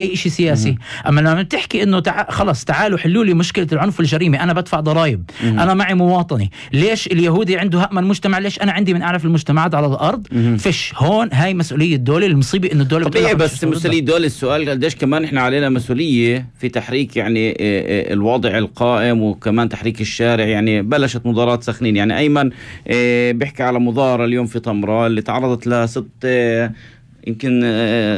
اي شيء سياسي. اما لما بتحكي انه خلص تعالوا حلوا لي مشكله العنف والجريمه، انا بدفع ضرائب، انا معي مواطني، ليش اليهودي عنده هأمن المجتمع، ليش انا عندي من اعرف المجتمعات على الارض؟ فيش هون هاي مسؤوليه الدوله. المصيبه انه الدوله طبيعي، بس مسؤوليه الدوله. السؤال قديش كمان احنا علينا مسؤوليه في تحريك يعني الوضع القائم، وكمان تحريك الشارع. يعني بلشت مظاهرات سخنين، يعني ايمن بيحكي على مظاهره اليوم في طمرة اللي تعرضت لست يمكن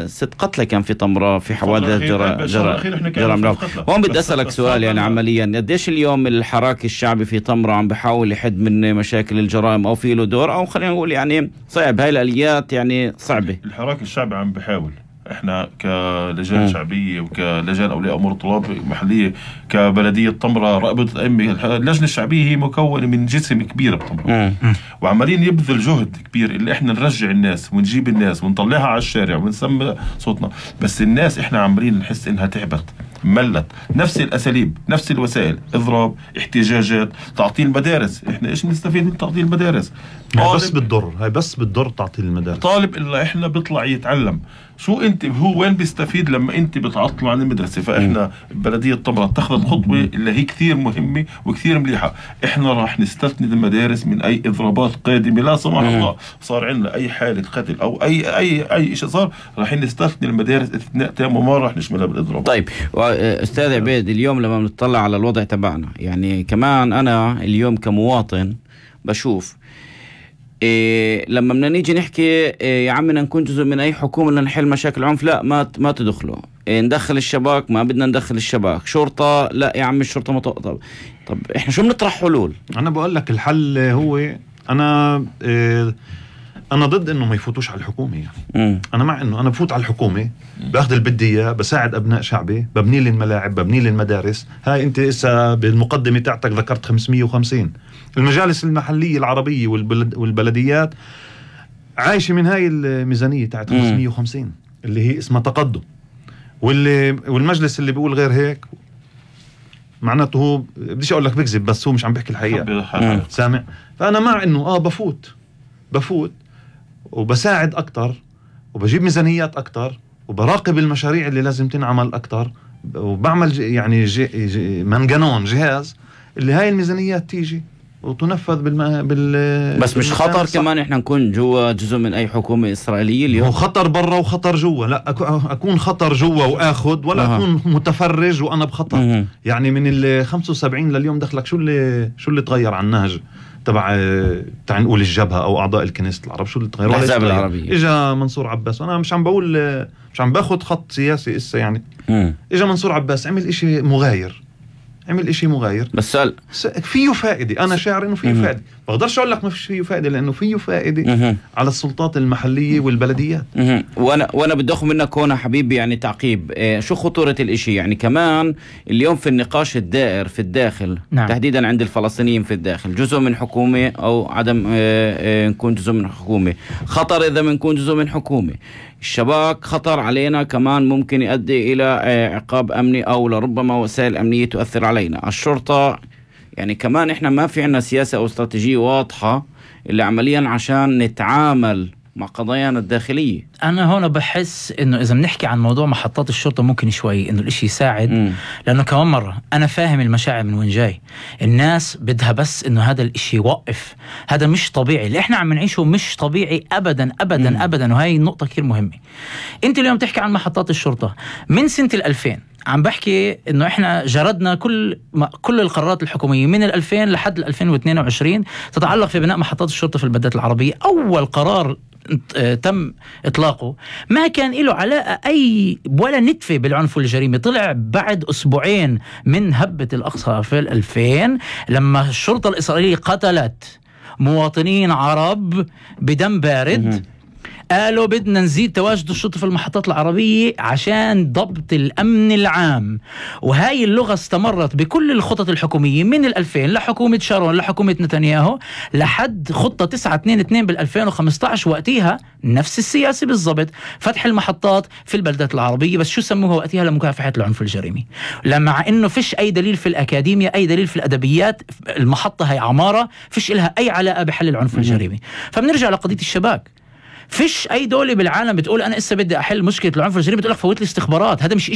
6 قتلى كان في طمرة في حوادث جرائم. هون بدي أسألك سؤال، يعني عمليا قديش اليوم الحراك الشعبي في طمرة عم بحاول يحد من مشاكل الجرائم، أو في له دور، أو خلينا نقول يعني صعب هاي الآليات يعني صعبة؟ الحراك الشعبي عم بحاول. احنا كلجان شعبية وكلجان اولياء امور الطلاب محلية كبلدية طمرة، رابطة الأئمة، اللجنة الشعبية هي مكونة من جسم كبير بطمرة، وعمالين يبذل جهد كبير اللي احنا نرجع الناس ونجيب الناس ونطلعها على الشارع ونسمع صوتنا. بس الناس احنا عمالين نحس انها تعبت، ملت. نفس الاساليب، نفس الوسائل، اضراب، احتجاجات، تعطيل المدارس. احنا ايش نستفيد من تعطيل المدارس؟ هاي بس بتضر تعطيل المدارس. طالب الا احنا بيطلع يتعلم. شو انت هو وين بيستفيد لما انت بتعطله عن المدرسه؟ فاحنا بلديه طمرة اتخذت خطوه اللي هي كثير مهمه وكثير مليحه. احنا راح نستثني المدارس من اي اضرابات قادمه، لا سمح الله صار عندنا اي حاله قتل او اي شيء صار، راح نستثني المدارس استثناء تام وما راح نشملها بالاضراب. طيب استاذ عبيد، اليوم لما بنطلع على الوضع تبعنا، يعني كمان انا اليوم كمواطن بشوف لما بدنا نيجي نحكي يا عمنا نكون جزء من اي حكومه لنحل مشاكل العنف، لا ما تدخلوا. ندخل الشباك، ما بدنا ندخل الشباك. شرطه، لا يا عم الشرطه طب احنا شو بنطرح حلول؟ انا بقول لك الحل هو انا ضد انه ما يفوتوش على الحكومه. يعني انا مع انه انا بفوت على الحكومه، باخذ اللي بدي اياه، بساعد ابناء شعبي، ببني لي الملاعب، ببني لي المدارس. هاي انت اسا بالمقدمه تاعتك ذكرت 550. المجالس المحليه العربيه والبلديات عايشه من هاي الميزانيه تاعت 550 اللي هي اسمها تقدم. والمجلس اللي بيقول غير هيك معناته هو بديش اقول لك بكذب، بس هو مش عم بيحكي الحقيقه. سامع؟ فانا مع انه بفوت وبساعد أكتر، وبجيب ميزانيات أكتر، وبراقب المشاريع اللي لازم تنعمل أكتر، وبعمل يعني منجنون جهاز اللي هاي الميزانيات تيجي وتنفذ بس مش خطر كمان احنا نكون جوا جزء من اي حكومة إسرائيلية اليوم؟ هو خطر برا وخطر جوا. لا اكون خطر جوا واخد، ولا اكون متفرج وانا بخطر. يعني من ال 75 لليوم دخلك شو اللي تغير عن النهج تبع نقول الجبهة او اعضاء الكنيسة العرب؟ شو اللي تغير؟ الاحزاب العربية. اجا منصور عباس، وانا مش عم باخد خط سياسي اسا يعني. اجا منصور عباس عمل اشي مغاير، بس فيه فائدة. أنا شاعر إنه فيه فائدة، بقدرش أقول لك ما فيه فائدة، لأنه فيه فائدة على السلطات المحلية والبلديات. وأنا بدي أخذ منك هنا حبيبي يعني تعقيب. شو خطورة الإشي؟ يعني كمان اليوم في النقاش الدائر في الداخل، نعم، تحديدا عند الفلسطينيين في الداخل، جزء من حكومة أو عدم نكون جزء من حكومة. خطر إذا بنكون جزء من حكومة. الشباك خطر علينا كمان، ممكن يؤدي إلى عقاب أمني، أو لربما وسائل أمنية تؤثر علينا. الشرطة يعني كمان إحنا ما في عنا سياسة أو استراتيجية واضحة اللي عمليا عشان نتعامل مع قضايانا الداخلية. أنا هنا بحس إنه إذا بنحكي عن موضوع محطات الشرطة ممكن شوي إنه الإشي يساعد. لأنه كمان مرة أنا فاهم المشاعر من وين جاي. الناس بدها بس إنه هذا الإشي يوقف. هذا مش طبيعي، اللي إحنا عم نعيشه مش طبيعي أبدا أبدا أبدا. وهي النقطة كثير مهمة. أنت اليوم تحكي عن محطات الشرطة من سنة 2000. عم بحكي إنه إحنا جردنا كل القرارات الحكومية من 2000 لحد 2022 تتعلق في بناء محطات الشرطة في البلدات العربية. أول قرار تم إطلاقه ما كان له علاقة أي ولا نتفة بالعنف والجريمة. طلع بعد أسبوعين من هبة الأقصى في 2000 لما الشرطة الإسرائيلية قتلت مواطنين عرب بدم بارد. قالوا بدنا نزيد تواجد الشرطة في المحطات العربية عشان ضبط الأمن العام. وهاي اللغة استمرت بكل الخطط الحكومية من 2000 لحكومة شارون لحكومة نتنياهو لحد خطة 922 بال2015. وقتها نفس السياسة بالضبط، فتح المحطات في البلدات العربية. بس شو سموها وقتها؟ لمكافحة العنف الجريمي. مع إنه فيش أي دليل في الأكاديمية، أي دليل في الأدبيات، المحطة هي عمارة فيش إلها أي علاقة بحل العنف الجريمي. فبنرجع لقضية الشباك. فيش اي دولة بالعالم بتقول انا اسا بدي احل مشكلة العنف الجنسي بتقول لك فوت لي استخبارات. هذا مش